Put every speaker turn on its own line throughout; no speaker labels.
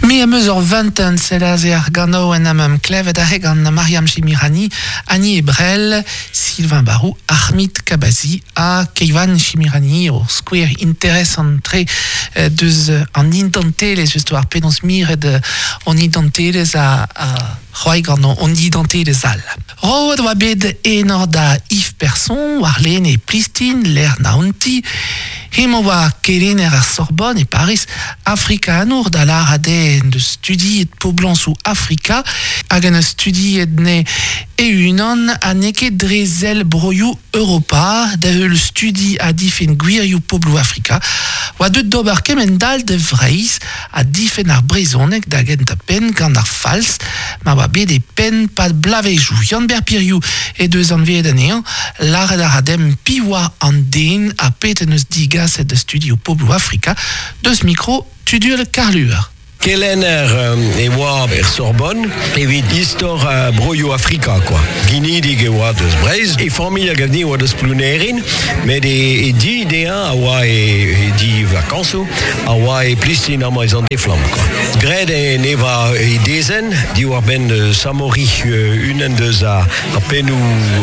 Me am eus ur vuntenn, sell aze ar ganaouenn am eus klevet aze gant Mariam Chemirani, Annie Ebrel, Sylvain Barou, Ahmid Kabazi ha Keivan Chemirani, ur skouer interesant-tre deus an identelezh, just war penaos miret hon identelezh ha c'hoari gant hon identelezh all. Roet oa bet enor da Yves Person warlene e Plistin, lec'h Naonti. Hemañ oa kelenner ar Sorbonne e Pariz, afrikanour da lârat eo en deus studiet poblañsoù Afrika hag en deus studiet ne e-unan ha n'eo ket dre sell broioù Europa da heul studi ha difenn gwirioù pobloù Afrika oa deuet d'ober kement-all da Vreizh ha difenn ar brezhoneg da gentañ-penn gant ar falz ma oa bet e penn 'pad bloavezhioù. Yann-Ber Piriou he deus anveet anezhañ, lâret a ra demp piv oa an den ha pet en deus digaset da studio pobloù Afrika deus mikro Tudual Karluer.
Kelenner e oa er Sorbonne evit istor broioù Afrika kwa. Ginidik e oa deus Breizh. E familh a gav din e oa deus Plounerin, met e di dezhañ a oa e di vakañsoù a oa e Plistin amañ e Sant-Eflamm kwa. Graet en eva e dezenn diwar-benn Samori, unan deus ar pennoù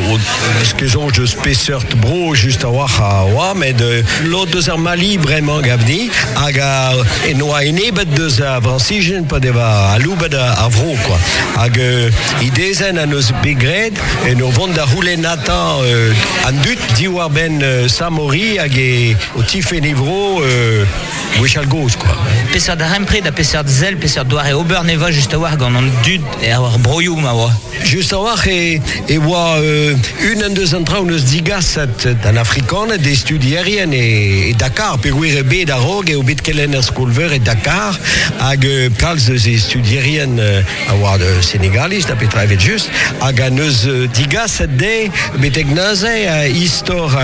eus ket soñj deus peseurt bro just a-walc'h a oa, met lod deus ar Mali bremañ gav din, hag en oa enebet deus ar Frañsizien pa deva aloubet ar vro kwa. Hag e dezenn a neus bet graet en ur vont da c'houlennata an dud diwar-benn Samori hag e o tifenn e vro gwechall gozh kwa.
Peseurt darempred ha peseurt sell, peseurt doare ober neva just a-walc'h gant an dud er broioù ma oa?
Just a-walc'h e, e oa unan deus an traoù neus digaset d'an Afrikaned d'e studierien e, e Dakar, peogwir eo bet a-raok eo bet kelenner skol-veur e Dakar hag kalz eus e studierien a oa Senegaliz da petra evet just hag a neus digaset dezhe betek neuze istor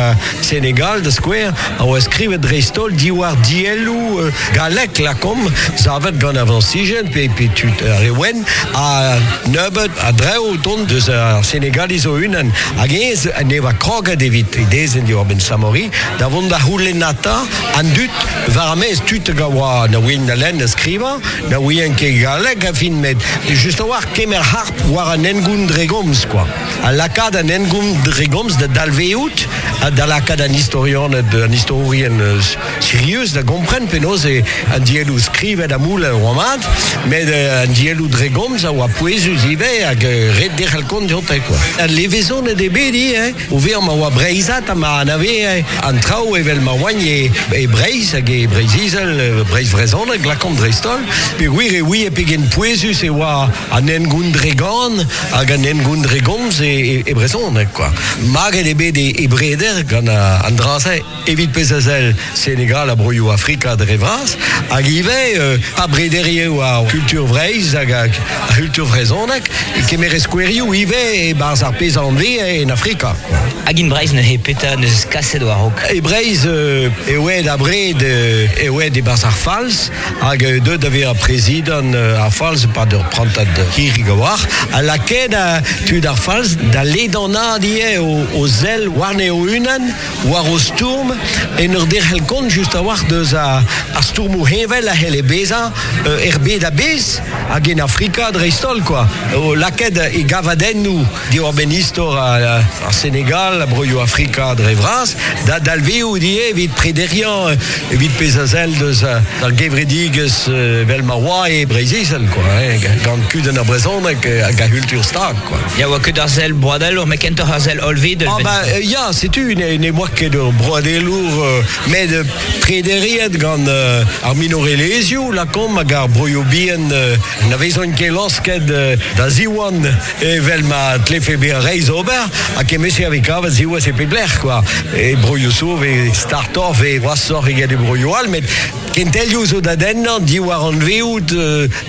Senegal da skouer a oa skrivet dreist-holl diwar dielloù gallek lakaomp savet gant ar Frañsizien pe, pe tud ar re wenn ha nebeut a drev o tont deus ar Senegaliz o-unan hag ez ne oa kroget evit e dezenn diwar-benn Samori da vont da c'houlennata an dud war ar maez tud hag a oa na ouient na lenn na skrivañ na ouient ket galleg a fin met just a-walc'h kemer harp war an hengoun dre gomz kwa ha lakaat an hengoun dre gomz da dalvezout ha da lakaat an istorianed, an istorourien sirius da gompren penaos eo an dielloù skrivet ha moulet a oa mat, met an dielloù dre gomz a oa pouezus ivez hag ret derc'hel kont dioute kwa. Al levezonet eo bet ivez o vezañ ma oa breizhat ha ma anaveze an traoù evel ma oant e, e Breizh hag e Breizh-Izel, Breizh vrezhonek lakaomp dreist-holl, peogwir e ouie pegen pouezus e oa an hengoun dre gan hag an hengoun dre gomz e, e brezhoneg kwa. Maget eo bet e, e Breder gant an dra-se evit pezh a sell Senegal ha broioù Afrika dre vras hag ivez euh, pa brederie war kultur Vreizh hag ar c'hultur vrezhonek e kemere skouerioù ivez e-barzh ar pezh a anveze en Afrika.
Hag in Breizh neuze petra neus kaset war-raok?
E Breizh e oa abred e oa e-barzh ar Falz hag deuet da vezañ prezidant ar Falz e-pad ur prantad hirik a-walc'h, ha lakaet tud ar Falz da ledanaat ivez o sell warne o-unan, war o stourm, en ur derc'hel kont just a-walc'h deus ar stourmoù heñvel a c'helle bezañ er bed a-bezh hag en Afrika dreist-holl kwa. O lakaet e gavadennoù diwar-benn istor ar Senegal, broioù Afrika dre vras, da dalvezout ivez evit prederiañ evit pezh a sell deus ar gevredigezh evel ma oa e Breizh-Izel quoi, hein, gant kudenn ar brezhoneg hag ar c'hultur stag quoi.
Ya oa ket ar sell broadelour, met kentoc'h ar sell hollvedel.
Ah ba ya, setu ne oa ket ur broadelour met prederiet gant ar minorelezhioù lakaomp hag ar broioù bihan na vezont ket laosket da ziwan Evel ma tlefe bezañ reizh ober, ha kement-se a vez kavet siwazh e pep lec'h kwa. E broioù zo vez startoc'h, vez gwashoc'h eget e broioù all, met kentelioù zo da dennañ diwar anveout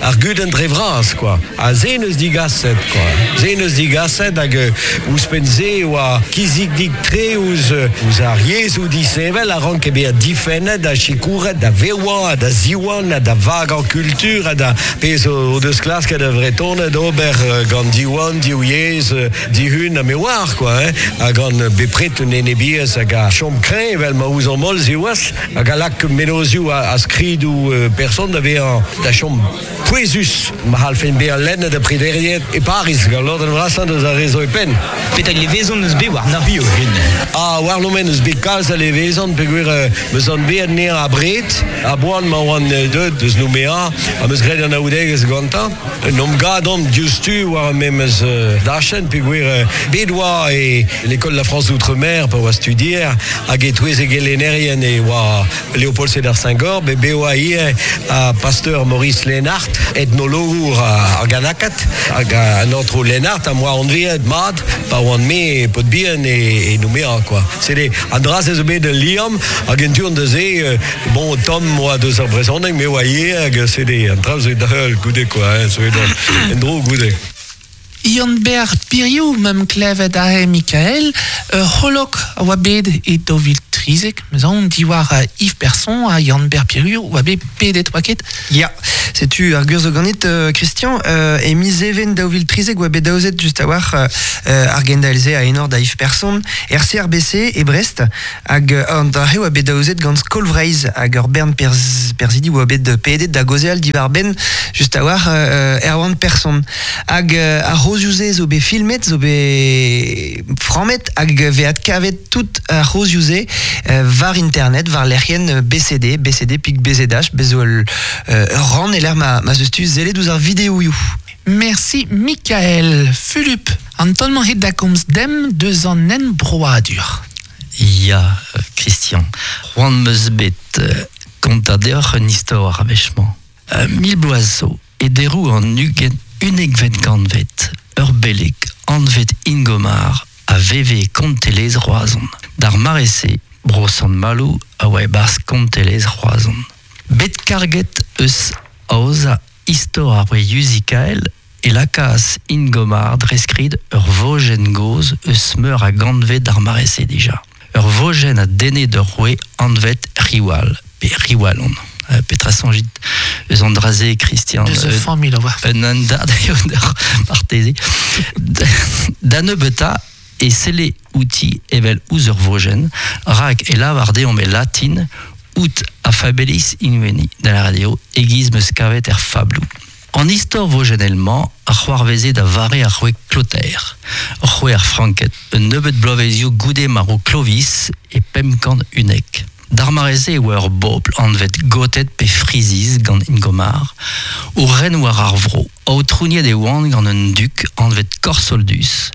ar gudenn dre vras kwa. Ha se 'neus digaset kwa. Se 'neus digaset hag ouzhpenn-se e oa kizidik-tre ouzh ouzh ar yezhoù disheñvel a ranke bezañ difennet ha sikouret da vevañ ha da ziwan ha da vagañ kultur ha da Pezh o deus klasket ar Vretoned ober gant Diwan, Div Yezh, Dihun ha me oar quoi, hein, ha gant bepred un enebiezh hag a chom kreñv evel ma ouzomp holl siwazh, hag a lak mennozhioù ha skridoù person da vezañ bezañ da chom pouezus ma c'hallfen bezañ lennet ha prederiet e Pariz gant lodenn vrasañ deus ar re zo e penn.
Petra levezon eus bet warnoc'h ho-un?
Ah, warnon-me n'eus bet kalz a levezon peogwir 'meus anveet anezhañ abred, a-boan ma oan deuet deus Nouméa am eus graet anaoudegezh gantañ. N'omp gadomp diouzhtu war ar memes dachenn peogwir bet oa e l'école de la France d'outre-mer pa oa studier hag e-touez e gelennerien e oa Léopold Sédar Senghor, bet bet oa ivez ar pasteur Maurice Lénart, etnologour ar Ganakat, hag an aotrou Lénart am boa anveet mat pa oan-me paotr bihan e Nouméa quoi. Sede an dra-se zo bet ul liamm hag en tu-hont da se, bon, tomm oa deus ar brezhoneg, me oa ivez hag sede an traoù zo da heul goude quoi, hein, zo bet en-dro goude.
Yann-Ber Piriou, meump klevet aze Mikael, ur c'holok a oa bet e 2013, 'meus aon, diwar Yves Person ha Yann-Ber Piriou oa bet pedet, oa ket?
Ya, setu ar gwir zo ganit, Christian. E miz Even 2013 oa bet aozet just a-walc'h ar gendael-se a enor da Yves Person, er CRBC e Brest, hag an dra-se oa bet aozet gant Skol Vreizh hag ur bern perzhidi oa bet pedet da gaozeal diwar-benn just a-walc'h Erwan Person. Hag ar c'hozioù-se zo bet filmet, zo bet frammet hag vez adkavet tout ar c'hozioù-se war internet, war lec'hienn BCD, BCD pik BZH, bez zo ul rann e lec'h ma, ma 'z eus tu sellet ouzh ar videoioù.
Merci Mikael. Fulup, an taol-mañ het da komz demp deus an enbroadur.
Ya, Christian, c'hoant 'm eus bet kontañ deoc'h un istor ar wech-mañ. Mil bloaz zo, e deroù an ugent unnekvet kantved, ur beleg anvet Ingomar a veve e kontelezh Roazhon. D'ar mare-se, bro Sant-Maloù a oa e-barzh kontelezh Roazhon. Bet karget eus aozañ istor ar Yuzikael e lakaas Ingomar dre skrid ur vojenn gozh eus meur a gantved d'ar mare-se dija. Ur vojenn a denne d'ur roue anvet Riwal, pe Riwallon. Petra soñjit eus an dra-se, Christian?
Deus ur familh a oa.
Un andad eo deoc'h, marteze. Da nebeutañ e selle outi evel ouzh ur vojenn, rak e lavar deomp e latin ut a fabelis inveni, da lâret eo e-giz 'm eus kavet er fabloù. An istor vojennel-mañ a c'hoarveze da vare ar roue Clotaire, roue ar Franked, un nebeud bloavezioù goude marv Clovis e 511. D'ar mare-se e oa ur bobl anvet Goted pe Friziz gant Ingomar o ren war ar vro. Aotrouniet e oant gant un dug anvet Korsoldus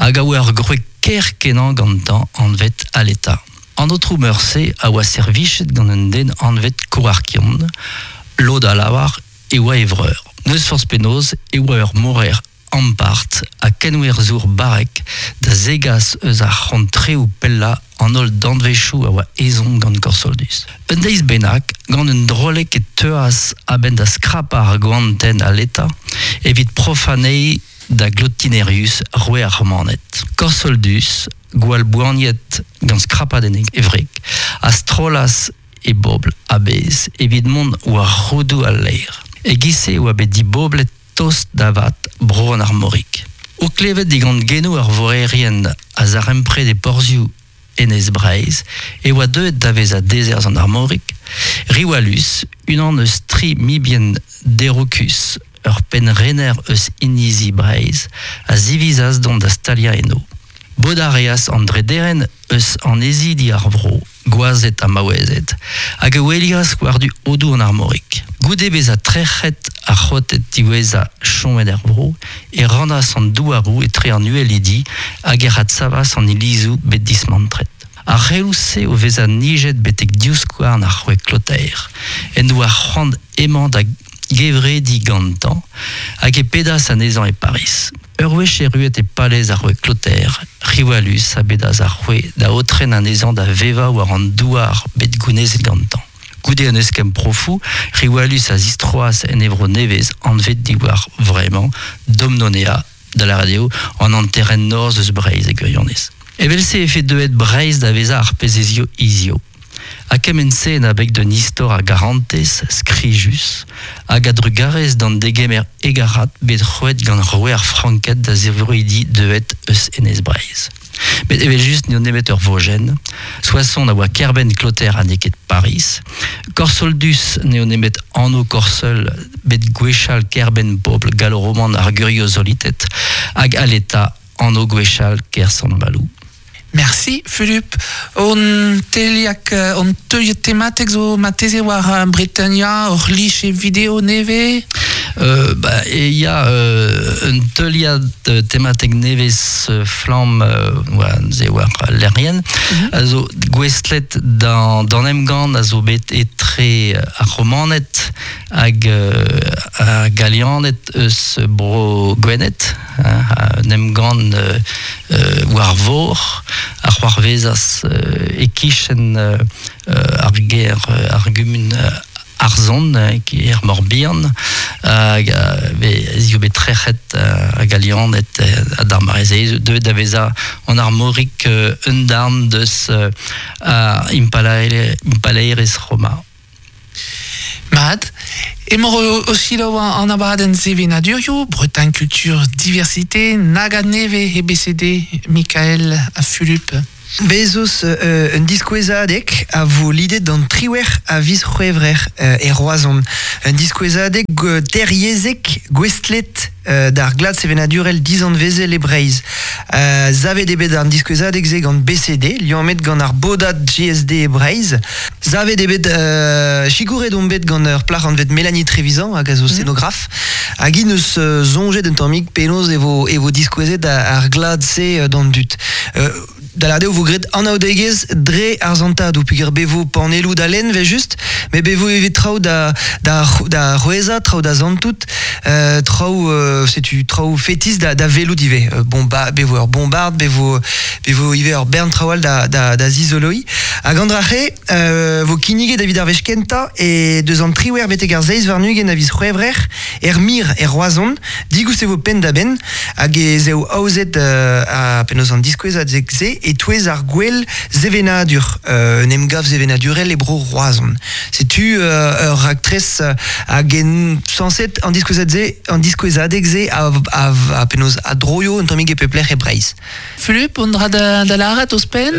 hag a oa ur gwreg ker-kenañ gantañ anvet Aleta. An aotrou meur-se a oa servichet gant un den anvet Koarkion, lod a lavar e oa e vreur. N'eus forzh penaos e oa ur moraer ampart ha kenwerzhour barrek da zegas eus ar c'hontreoù pellañ an holl danvezioù a oa ezhomm gant Korsoldus. Un deiz bennak, gant un droleg e teuas a-benn da skrapañ ar goantenn aletañ evit profañ anezhi da Glotinerius, roue ar Romaned. Korsoldus, gwall boaniet gant skrapadenn e wreg, a strollas e bobl a-bezh evit mont war roudoù al laer. E-giz-se e oa bet diboblet tost da vat bro an Armorig. O klevet digant genoù ar voerien a zarempred e porzhioù Enez Breizh e oa deuet da vezañ dezerzh an Armorig, Riwalus, unan eus tri mibien Derocus, ur pennrener eus inizi Breizh, a zivizas dont da staliañ eno. Bodañ a reas an drederenn eus annezidi ar vro, gwazed ha maouezed, hag e welias war-du Odoù an Armorig. Goude bezañ trec'het ar c'hoted diwezhañ chomet er vro, e rannas an douaroù etre an uhelidi hag ec'h adsavas an ilizoù bet dismantret. Ar c'heloù-se o vezañ nijet betek divskouarn ar c'hwek Klotaer, en doa c'hoant emañ da gevrediñ gantañ hag e pedas anezhañ e Pariz. Ur wech erruet e palez ar roue Clotaire, Riwalus a bedas ar roue da aotren anezhañ da vevañ war an douar bet gounezet gantañ. Goude un eskemm profoù, Riwalus a zistroas en e vro nevez anvet diwar vremañ Domnonea, da lâret eo an hanterenn norzh eus Breizh e gwirionez. Evel-se e fe deuet Breizh da vezañ ar pezh ez eo hiziv. Ha kement-se en abeg d'un istor a garantez skrijus hag a-drugarez d'an degemer hegarat bet roet gant roue ar Franked da zevroidi deuet eus Enez Breizh. Met evel just n'eo nemet ur vojenn. Soissons a oa kêr-benn Kloter ha n'eo ket Pariz. Korsoldus n'eo nemet anv Korsel bet gwechall kêr-benn pobl gallo-roman ar Guriosolited hag Aleta anv gwechall kêr Sant-Maloù.
Merci Fulup. On teliak, on teuliad tematek zo marteze war Bretania, ur liche video nevez?
Ba, e ya un teuliad tematek nevez flamm oa neuze war lec'hienn a zo gouestlet d'an emgann a zo bet etre ar Romaned hag ar Galianed eus bro Gwened, un emgann war vor a c'hoarvezas e-kichen ar gêr, ar gumun Arzhon, er Morbihan, hag ez eo bet trec'het ar Galianed d'ar mare-se, deuet da vezañ an Armorik un darn deus ar impalaerezh Roma.
Mat, emañ o selaou an abadenn sevenadurioù, Bretagne Culture Diversité, nag a nevez EBCD, Mikael ha Fulup.
Bez' eus un diskouezadeg a vo lidet d'an 18 a viz C'hwevrer e Roazhon. Un diskouezadeg teryezhek gouestlet d'ar glad sevenadurel dizanvezel e Breizh. Savet eo bet an diskouezadeg-se gant BCD, liammet gant ar bodad GSD e Breizh. Savet eo bet, sikouret omp bet gant ur plac'h anvet Mélanie Trévisan hag a zo scenograf. Hag hi 'neus soñjet un tammig penaos e vo e vo diskouezet ar glad-se d'an dud. Da lâret eo vo graet anaoudegezh dre ar santadoù peogwir be vo panelloù da lenn evel-just, met be vo ivez traoù da da da c'hwezhañ, traoù da santout, traoù setu traoù fetis da da welout ivez. Bomba be vo ur bombard, be vo be vo ivez ur bern traoù all da da da zizoloiñ. Hag an dra-se vo kinniget evit ar wech kentañ e deus an 18 betek ar 27 a viz C'hwevrer er Mir e Roazhon. Digoust e vo penn-da-benn hag ez eo aozet ha penaos an diskouezadeg-se e-touez ar gwell sevenadur, un emgav sevenadurel e bro Roazhon. Setu ur raktres hag en sañset an diskouezad-se an diskouezadeg-se a penaos a droio un tammig e pep lec'h e Breizh.
Fulup, on dra da, da lâret ouzhpenn?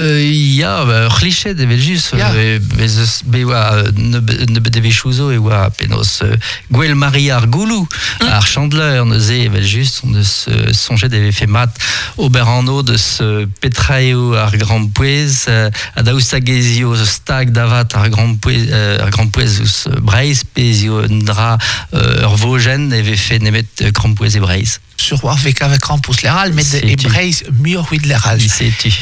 Ya, ba, ur c'hliched evel-just.
Ya.
Bez eus bet oa nebeut devezhioù zo e oa penaos Gouel Maria ar Gouloù, ar Chandeleur neuze evel-just on eus soñjet e vefe mat ober anv deus petra eo ar grampouezh ha daoust hag ez eo stag da vat ar grampouezh ar grampouezh ouzh Breizh pe ez eo un dra ur vojenn e vefe nemet krampouezh e Breizh.
Sur war vez kavet krampouezh lec'h all, met e Breizh muioc'h evit lec'h all.
Setu.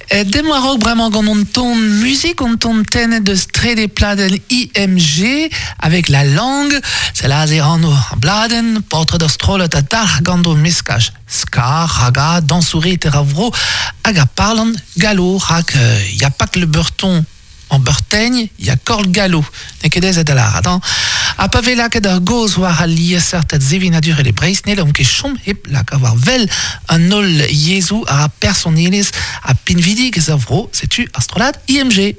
Demp war-raok bremañ gant hon ton muzik, hon ton tennet deus trede pladenn IMG avec la langue. Sell aze anv ar bladenn, paotred ur strollad a dalc'h gant o meskaj ska, raga, dañsourez ar vro hag a parlant gallo rak ya pak le beurton En Beurtegn, ya Korl Gallo, n'eo ket aes da lârat, hañ. Ha pa vez lakaet ar gaoz war al liesseurted sevenadurel e Breizh, n'hellomp ket chom hep lakaat war wel an holl yezhoù a ra personelezh ha pinvidigezh ar vro, setu ar strollad IMG.